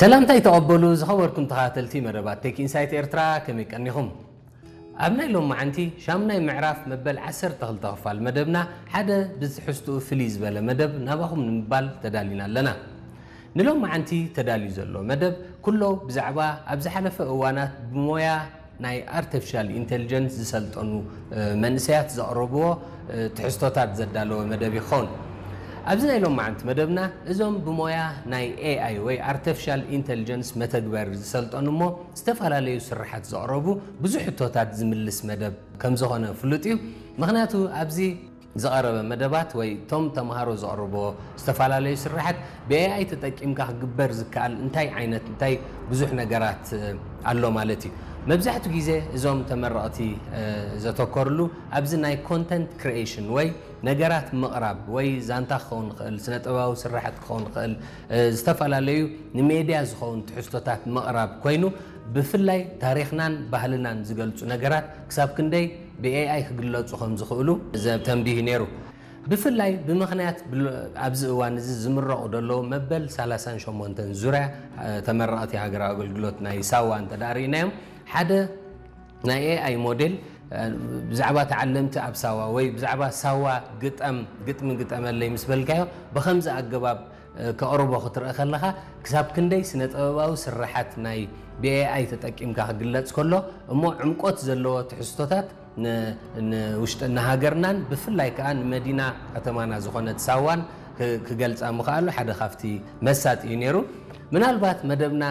ሰላምታይ ተቐበሉ ዝኸበርኩም ተኸታተልቲ መደባት ቴክ ኢንሳይት ኤርትራ፣ ከመይ ቀኒኹም? ኣብ ናይ ሎማዓንቲ ሻምናይ ምዕራፍ መበል ዓሰርተ ክልተ ክፋል መደብና ሓደ ብትሕዝትኡ ፍልይ ዝበለ መደብ ናባኹም ንምባል ተዳሊና ኣለና። ንሎማዓንቲ ተዳልዩ ዘሎ መደብ ኩሎ ብዛዕባ ኣብ ዝሓለፈ እዋናት ብሞያ ናይ ኣርቲፊሻል ኢንቴሊጀንስ ዝሰልጠኑ መንእሰያት ዘቕረብዎ ትሕዝቶታት ዘዳለወ መደብ ይኸውን። ኣብዚ ናይ ሎማዓንቲ መደብና እዞም ብሞያ ናይ ኤኣይ ወይ ኣርቲፊሻል ኢንቴሊጀንስ መተግበሪ ዝሰልጠኑ እሞ ዝተፈላለዩ ስርሓት ዘቕረቡ ብዙሕ ሕቶታት ዝምልስ መደብ ከም ዝኾነ ፍሉጥ እዩ። ምኽንያቱ ኣብዚ ዝቐረበ መደባት ወይ እቶም ተምሃሮ ዘቕርብዎ ዝተፈላለዩ ስርሓት ብኤኣይ ተጠቂምካ ክግበር ዝከኣል እንታይ ዓይነት እንታይ ብዙሕ ነገራት ኣሎ ማለት እዩ። መብዛሕትኡ ግዜ እዞም ተመረቕቲ ዘተኮርሉ ኣብዚ ናይ ኮንተንት ክሪኤሽን ወይ ነገራት ምቕራብ ወይ ዛንታ ክኸውን ይኽእል፣ ስነ ጥበባዊ ስርሓት ክኸውን ይኽእል፣ ዝተፈላለዩ ንሜድያ ዝኸውን ትሕዝቶታት ምቕራብ ኮይኑ፣ ብፍላይ ታሪኽናን ባህልናን ዝገልጹ ነገራት ክሳብ ክንደይ ብኤኣይ ክግለጹ ከም ዝኽእሉ ዘተንቢሁ ነይሩ። ብፍላይ ብምኽንያት ኣብዚ እዋን እዚ ዝምረቑ ዘለዉ መበል ሰላሳን ሸሞንተን ዙርያ ተመረቕቲ ሃገራዊ ኣገልግሎት ናይ ሳዋ እንተ ደኣ ርኢናዮም፣ ሓደ ናይ ኤኣይ ሞዴል ብዛዕባ ተዓለምቲ ኣብ ሳዋ ወይ ብዛዕባ ሳዋ ግጠም ግጥሚ ግጠመለይ ምስ በልካዮ ብኸምዚ ኣገባብ ከቕርቦ ክትርኢ ከለኻ ክሳብ ክንደይ ስነ ጥበባዊ ስርሓት ናይ ብኤኣይ ተጠቂምካ ክግለጽ ከሎ እሞ ዕምቆት ዘለዎ ትሕዝቶታት ንውሽጢ ንሃገርናን ብፍላይ ከዓ ንመዲና ከተማና ዝኾነት ሳዋን ክገልፃ ምኽኣሉ ሓደ ካብቲ መሳጢ እዩ ነይሩ። ምናልባት መደብና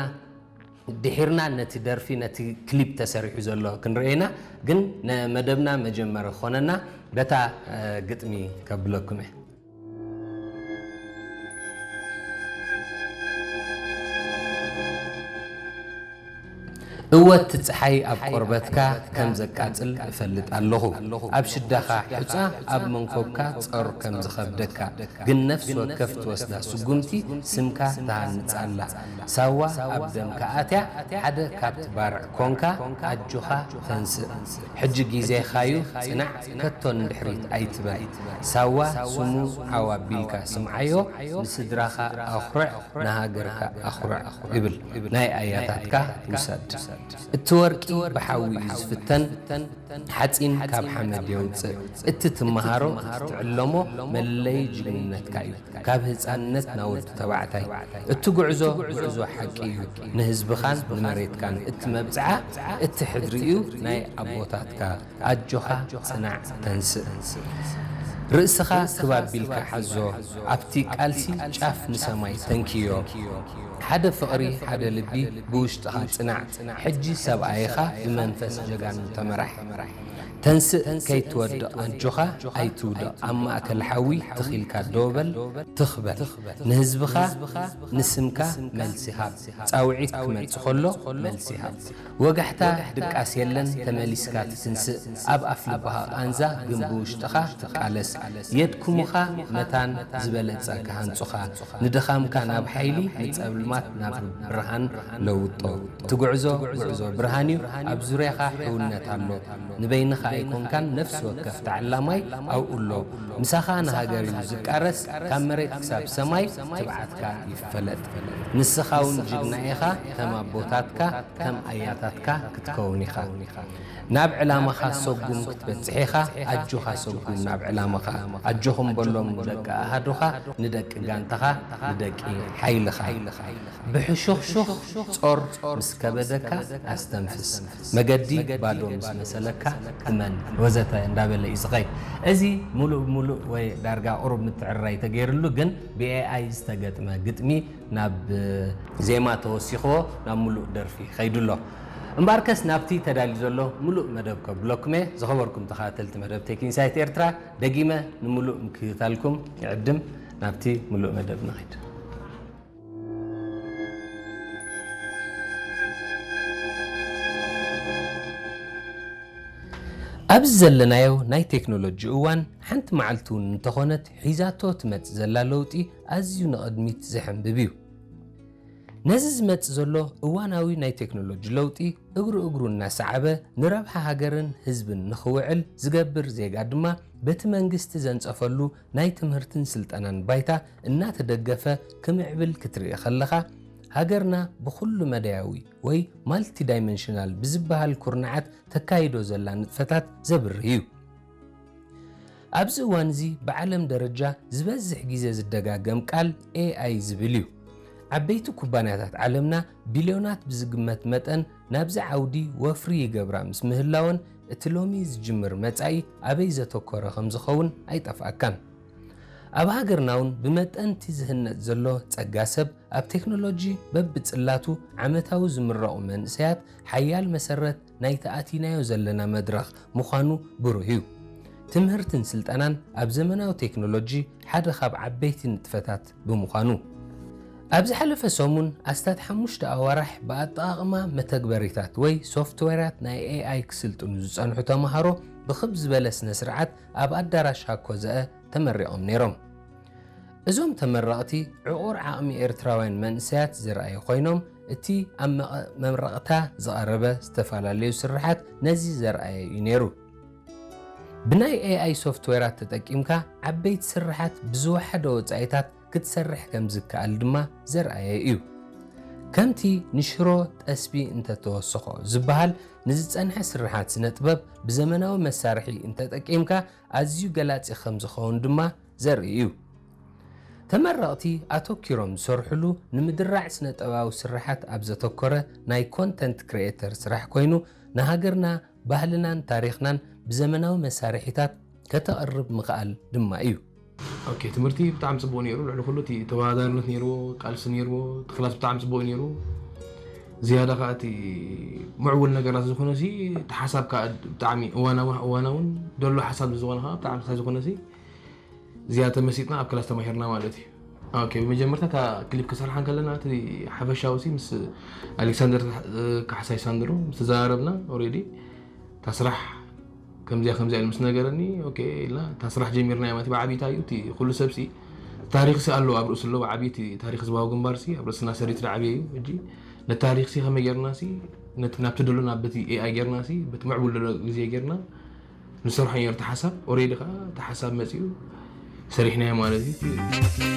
ድሒርና ነቲ ደርፊ ነቲ ክሊፕ ተሰሪሑ ዘሎ ክንርኢ ኢና፣ ግን ንመደብና መጀመሪ ክኾነና በታ ግጥሚ ከብለኩም እየ። እወ እቲ ጸሓይ ኣብ ቆርበትካ ከም ዘቃጽል እፈልጥ ኣለኹ። ኣብ ሽዳኻ ሑጻ ኣብ መንኮብካ ጸር ከም ዝኸብደካ ግን ነፍሲ ወከፍ ትወስዳ ስጉምቲ ስምካ ትሃንጽ ኣላ። ሳዋ ኣብ ደምካ ኣትያ ሓደ ካብቲ ባርዕ ኮንካ ኣጆኻ ተንስእ። ሕጂ ግዜኻዩ ጽናዕ ከቶ ንድሕሪት ኣይትበል። ሳዋ ስሙ ዓው ኣቢልካ ስምዓዮ ንስድራኻ ኣኹርዕ ንሃገርካ ኣኹርዕ እብል ናይ ኣያታትካ ውሰድ። እቲ ወርቂ ብሓዊ እዩ ዝፍተን ሓጺን ካብ ሓመድ የውጽእ። እቲ ትመሃሮ እቲ ትዕለሞ መለለዪ ጅግንነትካ እዩ። ካብ ህጻንነት ናብ ወዲ ተባዕታይ እቲ ጉዕዞ ጉዕዞ ሓቂ እዩ። ንህዝብኻን ንመሬትካን እቲ መብጽዓ እቲ ሕድሪ እዩ ናይ ኣቦታትካ። ኣጆኻ ጽናዕ ተንስእ። ርእስኻ ክብ ኣቢልካ ሓዞ ኣብቲ ቃልሲ ጫፍ ንሰማይ ተንክዮ። ሓደ ፍቕሪ ሓደ ልቢ ብውሽጥኻ ጽናዕ። ሕጂ ሰብኣይኻ ብመንፈስ ጀጋኑ ተመራሕ። ተንስእ ከይትወድቕ ኣጆኻ ኣይትውደቕ ኣብ ማእከል ሓዊ ትኺልካ ደው በል ትኽ በል። ንህዝብኻ ንስምካ መልሲ ሃብ። ጻውዒት ክመጽእ ከሎ መልሲ ሃብ። ወጋሕታ ድቃስ የለን ተመሊስካ ትትንስእ ኣብ ኣፍ ልብኻ ቃንዛ ግን ብውሽጥኻ ትቃለስ የድክሙኻ መታን ዝበለጸ ክሃንጹኻ ንድኻምካ ናብ ሓይሊ ንጸልማት ናብ ብርሃን ለውጦ ትጉዕዞ ጉዕዞ ብርሃን እዩ ኣብ ዙርያኻ ሕውነት ኣሎ ንበይንኻ ኣይኮንካን ነፍሲ ወከፍ ተዓላማይ ኣብኡ ኣሎ ምሳኻ ንሃገር እዩ ዝቃረስ ካብ መሬት ክሳብ ሰማይ ትብዓትካ ይፈለጥ ንስኻ እውን ጅግና ኢኻ ከም ኣቦታትካ ከም ኣያታትካ ክትከውን ኢኻ። ናብ ዕላማኻ ሰጉም ክትበጽሕ ኢኻ። ኣጆኻ ሰጉም ናብ ዕላማኻ። ኣጆኹም በሎም ደቂ ኣሃዱኻ፣ ንደቂ ጋንታኻ፣ ንደቂ ሓይልኻ። ብሕሹኽሹኽ ጾር ምስ ከበደካ ኣስተንፍስ። መገዲ ባዶ ምስ መሰለካ እመን ወዘተ እንዳበለ እዩ ዝኸይድ። እዚ ሙሉእ ብሙሉእ ወይ ዳርጋ ቁሩብ ምትዕርራይ ተገይርሉ ግን ብኤኣይ ዝተገጥመ ግጥሚ ናብ ዜማ ተወሲኽዎ ናብ ሙሉእ ደርፊ ኸይዱ ኣሎ። እምበኣርከስ ናብቲ ተዳልዩ ዘሎ ሙሉእ መደብ ከብለኩም እየ። ዝኸበርኩም ተኸታተልቲ መደብ ቴክ ኢንሳይት ኤርትራ፣ ደጊመ ንሙሉእ ምክትታልኩም ይዕድም። ናብቲ ሙሉእ መደብ ንኸይድ። ኣብዚ ዘለናዮ ናይ ቴክኖሎጂ እዋን፣ ሓንቲ መዓልቲ እውን እንተኾነት ሒዛቶ ትመጽእ ዘላ ለውጢ ኣዝዩ ንቕድሚት ዘሐንብብ እዩ። ነዚ ዝመጽእ ዘሎ እዋናዊ ናይ ቴክኖሎጂ ለውጢ እግሩ እግሩ እናሰዓበ ንረብሓ ሃገርን ህዝብን ንኽውዕል ዝገብር ዜጋ ድማ በቲ መንግስቲ ዘንጸፈሉ ናይ ትምህርትን ስልጠናን ባይታ እናተደገፈ ክምዕብል ክትርኢ ከለኻ፣ ሃገርና ብኹሉ መዳያዊ ወይ ማልቲዳይመንሽናል ብዝበሃል ኩርናዓት ተካይዶ ዘላ ንጥፈታት ዘብርህ እዩ። ኣብዚ እዋን እዚ ብዓለም ደረጃ ዝበዝሕ ግዜ ዝደጋገም ቃል ኤኣይ ዝብል እዩ። ዓበይቲ ኩባንያታት ዓለምና ቢልዮናት ብዝግመት መጠን ናብዚ ዓውዲ ወፍሪ ይገብራ ምስ ምህላወን፣ እቲ ሎሚ ዝጅምር መጻኢ ኣበይ ዘተኮረ ከም ዝኸውን ኣይጠፍኣካን። ኣብ ሃገርና እውን ብመጠን እቲ ዝህነጽ ዘሎ ጸጋ ሰብ ኣብ ቴክኖሎጂ በብጽላቱ ዓመታዊ ዝምረቑ መንእሰያት ሓያል መሰረት ናይቲ ኣቲናዮ ዘለና መድረኽ ምዃኑ ብሩህ እዩ። ትምህርትን ስልጠናን ኣብ ዘመናዊ ቴክኖሎጂ ሓደ ካብ ዓበይቲ ንጥፈታት ብምዃኑ። ኣብ ዝሓለፈ ሰሙን ኣስታት ሓሙሽተ ኣዋርሕ ብኣጠቓቕማ መተግበሪታት ወይ ሶፍትዌራት ናይ ኤኣይ ክስልጥኑ ዝጸንሑ ተምሃሮ ብኽብ ዝበለ ስነ ስርዓት ኣብ ኣዳራሽ ሃኮ ዘአ ተመሪቖም ነይሮም። እዞም ተመረቕቲ ዕቑር ዓቕሚ ኤርትራውያን መንእሰያት ዘርኣዩ ኮይኖም፣ እቲ ኣብ መቐ- መምረቕታ ዝቐረበ ዝተፈላለዩ ስርሓት ነዚ ዘርኣየ እዩ ነይሩ። ብናይ ኤኣይ ሶፍትዌራት ተጠቂምካ ዓበይቲ ስርሓት ብዝወሓደ ወጻኢታት ክትሰርሕ ከም ዝከኣል ድማ ዘርኣየ እዩ። ከምቲ ንሽሮ ጠስቢ እንተተወሰኾ ዝበሃል፣ ንዝጸንሐ ስርሓት ስነ ጥበብ ብዘመናዊ መሳርሒ እንተጠቂምካ ኣዝዩ ገላጺ ከም ዝኸውን ድማ ዘርኢ እዩ። ተመረቕቲ ኣተኪሮም ዝሰርሕሉ ንምድራዕ ስነ ጥበባዊ ስርሓት ኣብ ዘተኮረ ናይ ኮንተንት ክሪኤተር ስራሕ ኮይኑ፣ ንሃገርና ባህልናን ታሪኽናን ብዘመናዊ መሳርሒታት ከተቕርብ ምኽኣል ድማ እዩ። ኦኬ፣ ትምህርቲ ብጣዕሚ ፅቡቅ ነይሩ። ልዕሊ ኩሉ እቲ ተወዳዳሪነት ነይርዎ፣ ቃልሲ ነይርዎ። እቲ ክላስ ብጣዕሚ ፅቡቅ ነይሩ። ዝያዳ ከዓ እቲ ምዕቡል ነገራት ዝኾነ ሲ እቲ ሓሳብ ከዓ ብጣዕሚ እዋናዊ እዋናውን ደሎ ሓሳብ ዝኾነ ከዓ ብጣዕሚ ስለ ዝኾነ ሲ ዝያዳ ተመሲጥና ኣብ ክላስ ተማሂርና ማለት እዩ። ኦኬ፣ ብመጀመርታ እታ ክሊፕ ክሰርሓ እንከለና እቲ ሓፈሻዊ ሲ ምስ ኣሌክሳንደር ካሕሳይ ሳንድሮ ምስ ተዘራረብና ኦሬዲ እታ ስራሕ ከምዚኣ ከምዚኣ ኢሉ ምስ ነገረኒ ኦኬ ኢልና እታ ስራሕ ጀሚርና ማለት ብዓብይታ እዩ እቲ ኩሉ ሰብ ሲ ታሪክ ሲ ኣለዎ ኣብ ርእሱ ኣለዎ ብዓብይ እቲ ታሪክ ህዝባዊ ግንባር ሲ ኣብ ርእስና ሰሪት ዝዓብየ እዩ ሕጂ ነቲ ታሪክ ሲ ከመይ ጌርና ሲ ነቲ ናብቲ ደሎ ናብ በቲ ኤኣይ ጌርና ሲ በቲ ምዕቡል ደሎ ግዜ ጌርና ንሰርሖ ነርቲ ሓሳብ ኦሬዲ ከዓ እቲ ሓሳብ መፅኡ ሰሪሕናዮ ማለት እዩ